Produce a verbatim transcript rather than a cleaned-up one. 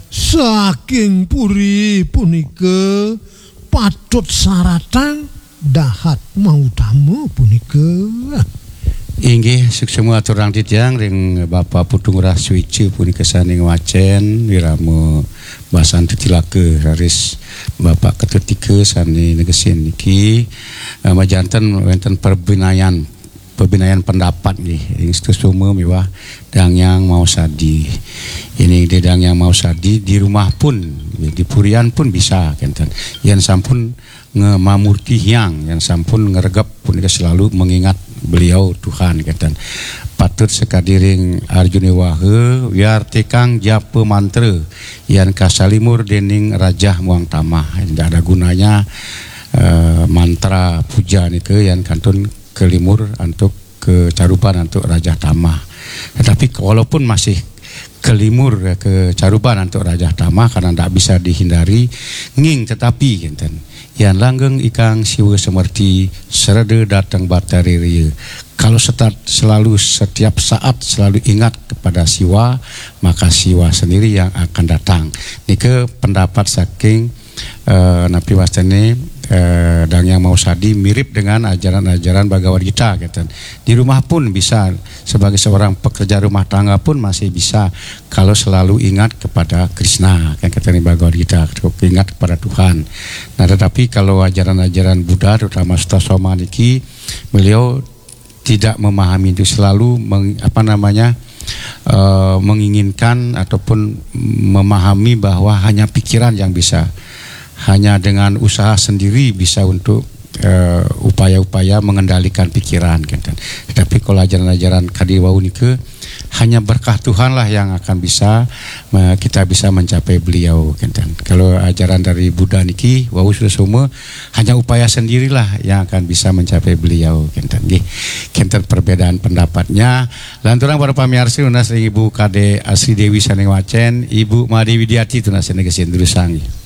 Saking puri punika patut saratang dahat mautama punika. Inggih, suksma aturang titiang ring Bapak Putu Ngurah Suica punika sané ngwacén wirama basan titilaka raris Bapak Ketut Tika sané negesin niki. Eh, majanten wénten pabinayan, pabinayan pendapat nggih ring Sutasoma miwah Dang Hyang Maosadi. Ini di Dang Hyang Maosadi di rumah pun, di purian pun bisa kénten. Yén sampun ngamamurti hyang, yén sampun ngregep punika selalu mengingat beliau Tuhan kénten. Patut sakadi ring Arjuna Waha, wiartikang japa mantra yén kasalimur déning rajah muang tamah. Tidak ada gunanya eh, mantra puja nika yén kantun kalimur antuk kacaruban antuk rajah tamah. Tetapi walaupun masih kalimur kacaruban antuk rajah tamah karena ndak bisa dihindari, nggih tetapi kénten. Yan langgeng ikang Siwa Semerti, sereda dateng Batari Ria. Kalau setat selalu, setiap saat selalu ingat kepada Siwa, maka Siwa sendiri yang akan datang. Nika pendapat saking eh, napi wastané eh, Dang Hyang Maosadi mirip dengan ajaran-ajaran Bhagavad Gita kénten. Di rumah pun bisa, sebagai seorang pekerja rumah tangga pun masih bisa kalau selalu ingat kepada Krishna, kan kata di Bhagavad Gita, ingat kepada Tuhan. Nah, tetapi kalau ajaran-ajaran Buddha, terutama Sutasoma niki, beliau tidak memahami itu, selalu meng- apa namanya eh, menginginkan ataupun memahami bahwa hanya pikiran yang bisa, hanya dengan usaha sendiri bisa untuk eh, upaya-upaya mengendalikan pikiran, kan. Tetapi kalau ajaran-ajaran kadi wau nika, hanya berkah Tuhanlah yang akan bisa eh, kita bisa mencapai beliau, kan. Kalau ajaran dari Buddha niki wau Sutasoma, hanya upaya sendirilah yang akan bisa mencapai beliau, kénten nggih. Kénten perbedaan pendapatnya. Lanturang para pamiarsa, nunas ring Ibu Kadek Asri Dewi sané ngwacén, Ibu Made Widiati tunas sané gesin durusang nggih.